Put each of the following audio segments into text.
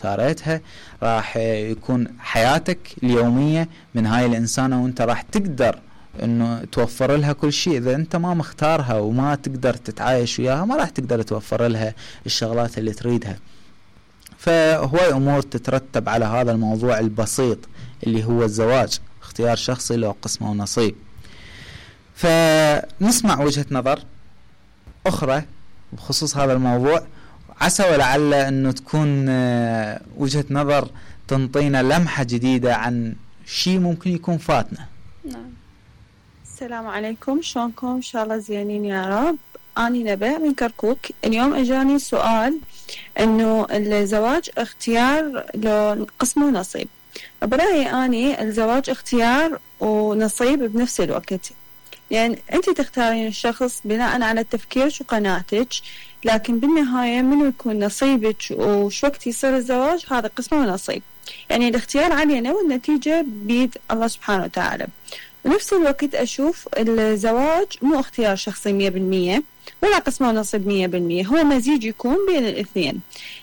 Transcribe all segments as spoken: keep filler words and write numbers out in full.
اختاريتها راح يكون حياتك اليومية من هاي الإنسانة، وانت راح تقدر انه توفر لها كل شيء. اذا انت ما مختارها وما تقدر تتعايش وياها ما راح تقدر توفر لها الشغلات اللي تريدها. فهواي امور تترتب على هذا الموضوع البسيط اللي هو الزواج، اختيار شخصي له قسمة ونصيب. فنسمع وجهة نظر اخرى بخصوص هذا الموضوع، عسى ولعل انه تكون وجهة نظر تنطينا لمحة جديدة عن شيء ممكن يكون فاتنا. نعم. السلام عليكم، شلونكم؟ ان شاء الله زينين يا رب. اني نبأ من كركوك. اليوم اجاني سؤال انه الزواج اختيار لقسم ونصيب. برأيي اني الزواج اختيار ونصيب بنفس الوقت، يعني انت تختارين الشخص بناء على تفكيرك وقناعتك، لكن بالنهاية منو يكون نصيبك وش وقت يصير الزواج هذا قسم ونصيب. يعني الاختيار علينا والنتيجة بيد الله سبحانه وتعالى. ونفس الوقت أشوف الزواج مو اختيار شخصي مية بالمية ولا قسم ونصيب مية بالمية، هو مزيج يكون بين الاثنين.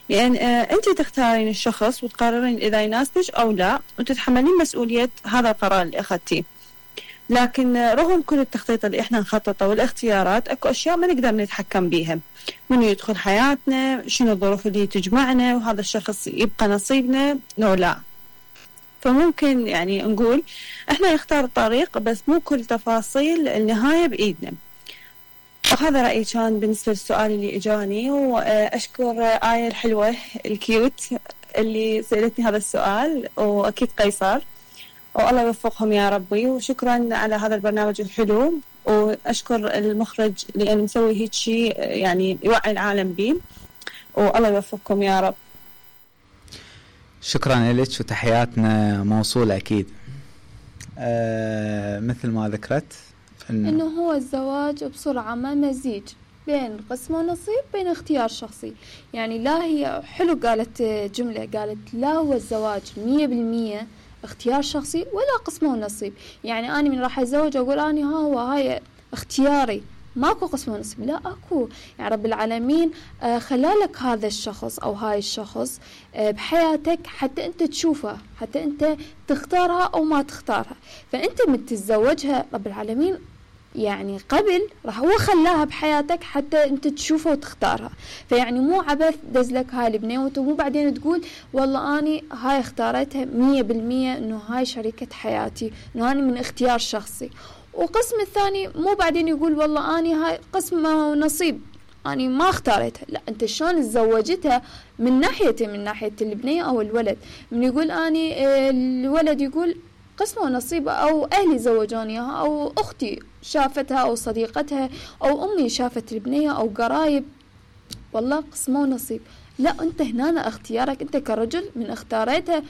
لأن آه أنت تختارين الشخص وتقررين إذا يناسبك أو لا، وتتحملين مسؤولية هذا القرار اللي أخذتيه. لكن آه رغم كل التخطيط اللي إحنا نخططه والاختيارات، أكو أشياء ما نقدر نتحكم بيها. من يدخل حياتنا، شنو الظروف اللي تجمعنا، وهذا الشخص يبقى نصيبنا لو لا. فممكن يعني نقول احنا نختار الطريق، بس مو كل تفاصيل النهاية بإيدنا. وهذا رأيي كان بالنسبة للسؤال اللي اجاني. واشكر آية الحلوة الكيوت اللي سألتني هذا السؤال، واكيد قيصر، والله يوفقهم يا ربي. وشكرا على هذا البرنامج الحلو، واشكر المخرج لانه مسوي هيك شيء يعني يوعي العالم به، والله يوفقكم يا رب. شكرا لك وتحياتنا موصولة أكيد. آه مثل ما ذكرت إنه, إنه هو الزواج بسرعة ما مزيج بين قسم ونصيب، بين اختيار شخصي. يعني لا هي حلو قالت جملة، قالت لا هو الزواج مية بالمية اختيار شخصي ولا قسم ونصيب. يعني أنا من راح أتزوج أقول أنا ها هو هاي اختياري، ماكو قسم ونصيب، لا اكو. يعني رب العالمين آه خلالك هذا الشخص او هاي الشخص آه بحياتك حتى انت تشوفها، حتى انت تختارها او ما تختارها. فانت من تتزوجها رب العالمين يعني قبل راح هو خلاها بحياتك حتى انت تشوفها وتختارها. فيعني مو عبث دزلك هاي البنيوت ومو بعدين تقول والله اني هاي اختارتها مية بالمية انه هاي شريكة حياتي، انه اني من اختيار شخصي. وقسم الثاني مو بعدين يقول والله اني هاي قسم ونصيب اني ما اختارتها. لا، انت شلون تزوجتها من ناحيتي، من ناحية البنية او الولد. من يقول اني الولد يقول قسم ونصيب، او اهلي زوجونيها، او اختي شافتها، او صديقتها، او امي شافت البنية، او قرايب، والله قسم ونصيب. لا، انت هنا اختيارك انت كرجل من اختارتها،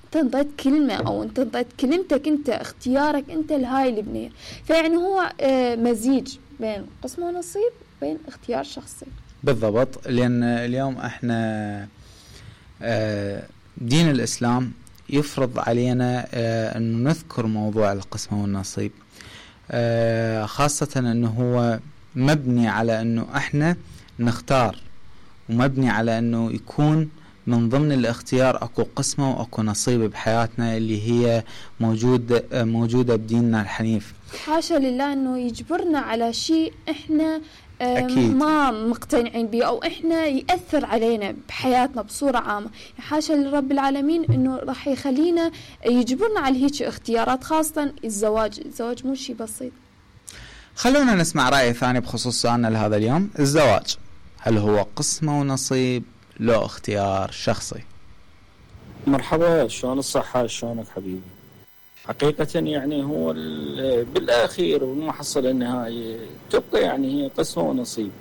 انت انطيت كلمة او انت انطيت كلمتك انت، اختيارك انت لهاي البنية. فيعني هو مزيج بين قسم ونصيب بين اختيار شخصي. بالضبط، لان اليوم احنا دين الاسلام يفرض علينا انه نذكر موضوع القسم والنصيب، خاصة انه هو مبني على انه احنا نختار، ومبني على انه يكون من ضمن الاختيار اكو قسمة واكو نصيب بحياتنا اللي هي موجود موجودة بديننا الحنيف. حاشا لله انه يجبرنا على شيء احنا أكيد. ما مقتنعين به، او احنا يأثر علينا بحياتنا بصورة عامة. حاشا لرب العالمين انه راح يخلينا يجبرنا على هيك اختيارات، خاصة الزواج. الزواج مو شيء بسيط. خلونا نسمع رأي ثاني بخصوص سؤالنا لهذا اليوم. الزواج هل هو قسمة ونصيب له اختيار شخصي؟ مرحبا، شلون الصحة؟ شلونك حبيبي؟ حقيقة يعني هو بالأخير والمحصلة النهائية تبقى يعني هي قسمة ونصيب،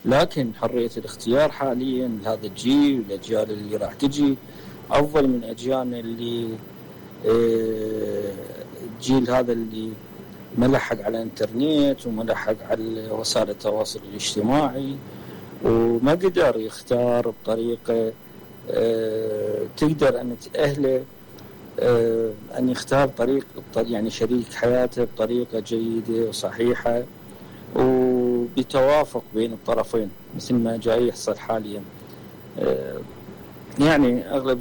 لكن حرية الاختيار حاليا لهذا الجيل والأجيال اللي راح تجي أفضل من أجيالنا اللي الجيل هذا اللي ملحق على الانترنت وملحق على وسائل التواصل الاجتماعي، وما قدر يختار بطريقة تقدر أن تأهله أن يختار طريق يعني شريك حياته بطريقة جيدة وصحيحة وبتوافق بين الطرفين، مثل ما جاي يحصل حاليا. يعني أغلب